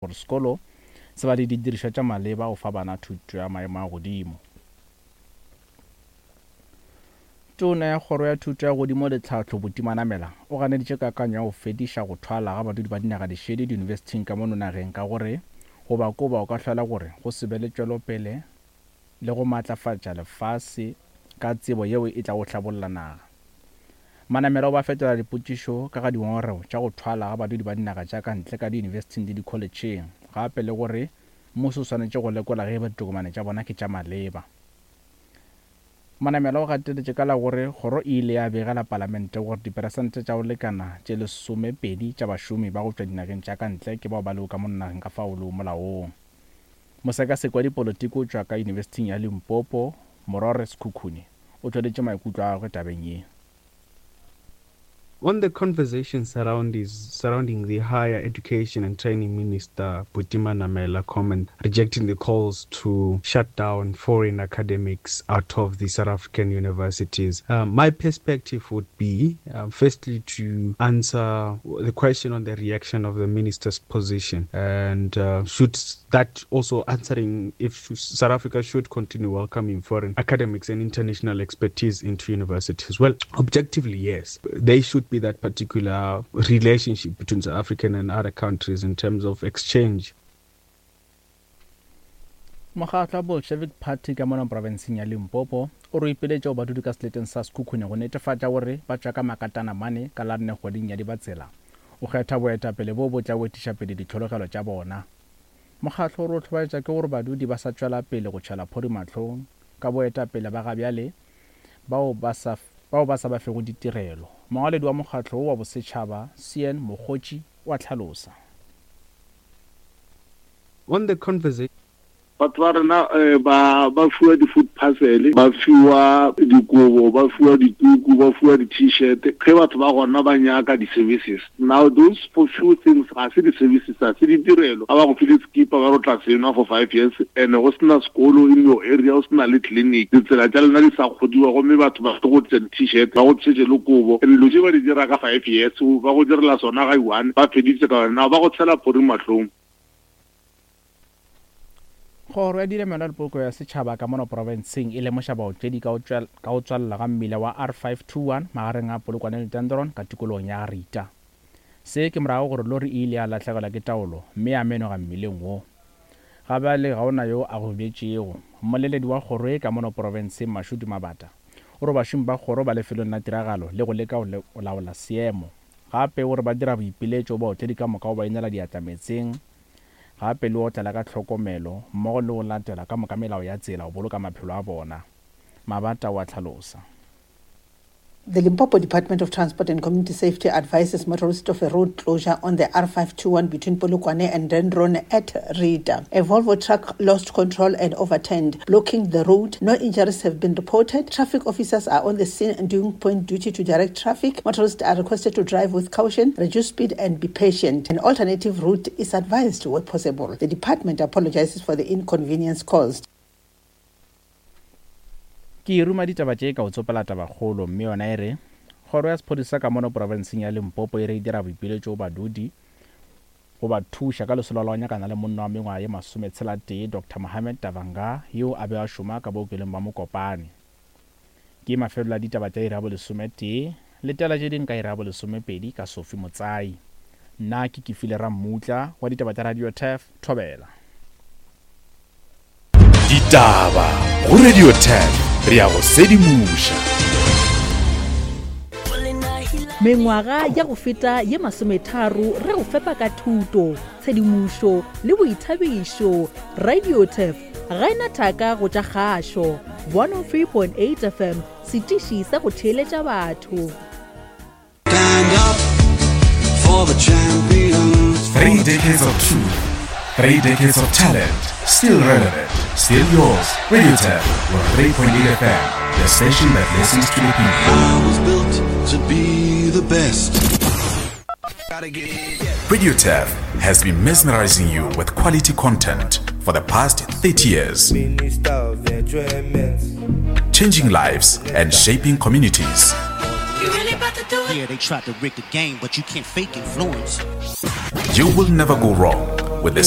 Gore sekolo se ba le didirišwa tša maleba go fa bana thuto ya maemo a godimo. Tona ya Kgoro ya Thuto ya Godimo le Tlhahlo Buti Manamela o ganeditše kakanyo ya go fediša go thwala ga badudi ba dinaga dišele diyunibesithing ka mono nageng ka gore go ba koba go ka hlola gore go se be le tšwelopele le go maatlafatša lefase ka tsebo yeo e tlago hlabolla naga. Manamela o ba fetola dipotšišo ka ga dingongorego tša go thwala ga badudi ba dinaga tša ka ntle ka diyunibesithing le dikholetšheng, gape le gore mmušo o swanetše go lekola ge eba ditokomane tša bona ke tša maleba. Manamela o gateletše ka la gore kgoro e ile ya begela palamente gore diperesente tša go lekana tše lesomepedi tša bašomi ba go tšwa dinageng tša ka ntle ke bao ba lego ka mono nageng ka fao lego molaong. Mosekaseki wa dipolotiki o tšwa ka Yunibesithing ya Limpopo, Morore Sekhukhune, o tšweleditše maikutlo a gagwe tabeng ye. On the conversation surrounding the Higher Education and Training Minister Buti Manamela comment rejecting the calls to shut down foreign academics out of the South African universities, um, my perspective would be um, firstly to answer the question on the reaction of the minister's position and uh, should that also answering if South Africa should continue welcoming foreign academics and international expertise into universities. Well, objectively, yes. There should be that particular relationship between South African and other countries in terms of exchange. Mokgatlo wa Bolshevik Party ka mono profenseng ya Limpopo o re o ipiletša go badudi ka seleteng sa Sekhukhune go netefatša gore ba tšwa ka makatana mane ka la nne kgweding ya Dibatsela o kgetha boetapele boo bo tla go etiša pele ditlhologelo tša bona. Mokgatlo o re o hlobaetša ke gore badudi ba sa tšwela pele go tšhela phori mahlong ka boetapele ba gabjale bao ba sa bao ba sa ba fego ditirelo. Mongwaledi wa mokgatlo wo wa bosetšhaba, Sean Mokgotši, o a hlalosa. On the conversation. Batho ba rena eh, ba ba fiwa di-food parcel, ba fiwa dikobo, ba fiwa dituku, ba fiwa di-t-shirt. Ge batho ba gona ba nyaka di-services. Now those for few things ga se di-services, ga se ditirelo. Ga ba go file sekipa ba re o tla se nwa for five years and go sena sekolo in your area, go sena le clinic, ditsela tša lena di sa kgodiwa gomme batho ba tlo go tliša di-t-shirt, ba go tlišetše le kobo. And dilo tše ba di dira ka five years, ba go direla sona ga i-one, ba feditse ka wena. Now ba go tshela phori mahlong. Kgoro ya Dilemelwa le Poloko ya Setšhaba ka mono profenseng e lemoša baotledi ka go tswalela ga mmila wa R521 magareng a Polokwane le Dendron ka tikologong ya Garita. Se ke morago gore lori e ile ya lahlegelwa ke taolo mme ya menoga mmileng wo. Ga bjale ga o na yo a gobetšego. Mmoleledi wa kgoro ye ka mono profenseng Mashudu Mabata o re bašomi ba kgoro ba lefelong la tiragalo le go leka go laola seemo. Gape o re ba dira boipiletšo go baotledi ka moka go ba inela diatla meetseng gape le otlela ka tlhokomelo mmogo le go latela ka moka melao ya tsela go boloka maphelo a bona, Mabata o a hlalosa. The Limpopo Department of Transport and Community Safety advises motorists of a road closure on the R521 between Polokwane and Dendron at Rita. A Volvo truck lost control and overturned, blocking the road. No injuries have been reported. Traffic officers are on the scene and doing point duty to direct traffic. Motorists are requested to drive with caution, reduce speed and be patient. An alternative route is advised where possible. The department apologizes for the inconvenience caused. Ke ruma ditaba tše ka o tsopela tabakgolo mme yona e re kgoro ya sephodisa ka mono profenseng ya Limpopo e re e dira boipiletšo go badudi go ba thuša ka lesolo la go nyakana le monna wa mengwaga ye masometshela-tee Doctor Mohammed Davanga yo a bego a šoma ka bookelong ba Mokopane. Ke mafelelo a ditaba tša iri ya bolesometee, letela tše ding ka iri ya bolesomepedi ka Sophie Motsai. Nna ke Kefile Rammutla wa ditaba tša Radio Turf, Thobela. Ditaba go Radio Turf, re a go sedimoša. Mengwaga ya go feta ye masometharo re go fepa ka thuto, tshedimošo le boithabišo. Radio Turf ga e na thaka go tša kgašo. 103.8 FM, setiši sa go theeletša batho. Stand up for the champions. Three decades of truth, three decades of talent, still relevant, still yours. Radio Tap, 103.8 FM, the station that listens to the people. I was built to be the best. Radio Turf has been mesmerizing you with quality content for the past 30 years. Changing lives and shaping communities. Yeah, they tried to rig the game, but you can't fake influence. You will never go wrong. With the